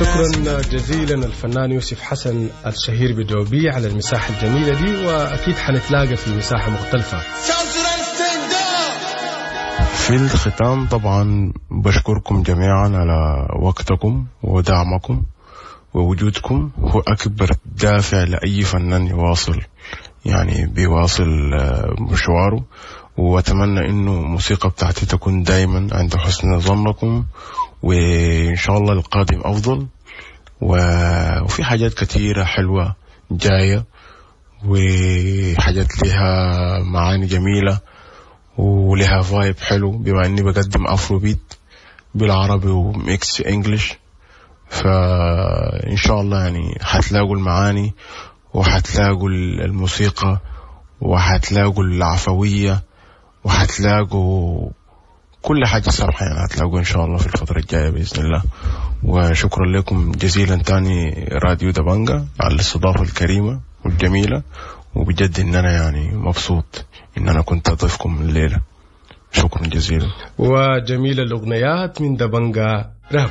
شكرا جزيلا الفنان يوسف حسن الشهير بدوبي على المساحة الجميلة دي، وأكيد حنتلاقى في مساحة مختلفة. في الختام طبعا بشكركم جميعا على وقتكم ودعمكم ووجودكم، هو أكبر دافع لأي فنان يواصل يعني بيواصل مشواره. وأتمنى إنه الموسيقى بتاعتي تكون دايما عند حسن ظنكم، وإن شاء الله القادم أفضل، وفي حاجات كثيرة حلوة جاية، وحاجات لها معاني جميلة ولها vibe حلو، بما إني بقدم Afrobeat بالعربي و mix English، فإن شاء الله يعني حتلاقوا المعاني وحتلاقوا الموسيقى وحتلاقوا العفوية وحتلاقوا كل حاجة صراحة، يعني هتلاقوا إن شاء الله في الفترة الجاية بإذن الله. وشكرا لكم جزيلا تاني راديو دبنجا على الاستضافة الكريمة والجميلة، وبجد إن أنا يعني مبسوط إن أنا كنت أضيفكم الليلة. شكرا جزيلا. وجميل الأغنيات من دبنجا راب.